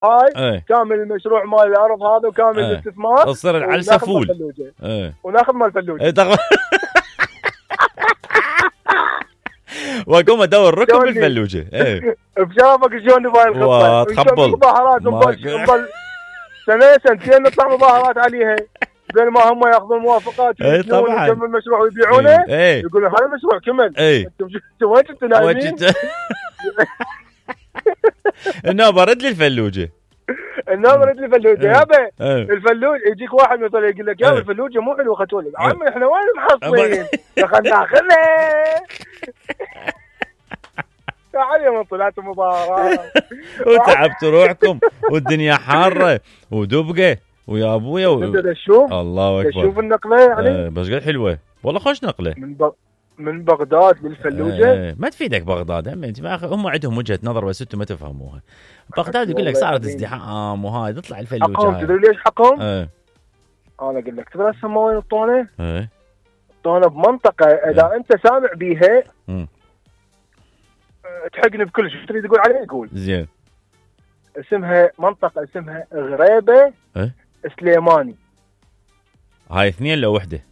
هاي كامل المشروع مال الارض هذا وكامل الاستثمار تصير العلسه فول وناخذ مال الفلوجه واقوم ادور ركب بالفلوجه بشافك شلون نبغى الخطه تخبل مظاهرات سنه سنتين نطلع مظاهرات عليها بين ما هم ياخذون موافقات طبعا يكمل المشروع ويبيعونه يقولون هذا المشروع كمل انتم وين كنتوا نايمين النوبه رد لي الفلوجه يابا الفلوج يجيك واحد مثلا يقول لك يا الفلوجه مو حلوه ختولي عمي احنا وين محصلين خلينا ناخذها تعال من طلعت مظاهرات وتعبتوا روحكم والدنيا حاره ودبقه ويا ابويا الله اكبر شوف النقله يعني بس قد حلوه والله خوش نقله من بغداد للفلوجه ما تفيدك بغداد هم عندهم وجهه نظر بس انتم ما تفهموها. بغداد يقول لك صارت ازدحام وهاي تطلع الفلوجه حقهم تدري ليش حقهم؟ انا اقول لك تدري هسه وين الطونه؟ الطونه بمنطقه اذا انت سامع بيها تحقني بكل شيء تريد تقول عليه قول زين منطقه اسمها غريبه سليماني. هاي اثنين لو وحده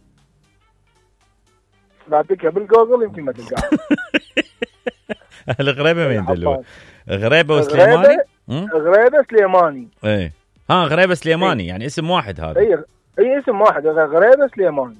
لا تكتب بالجوجل يمكن ما تلقاها. الغريبه وين دلوقتي؟ غريبه وسليماني؟ غريبه سليماني غريبه سليماني يعني اسم واحد هذا. اي اسم واحد غريبه سليماني.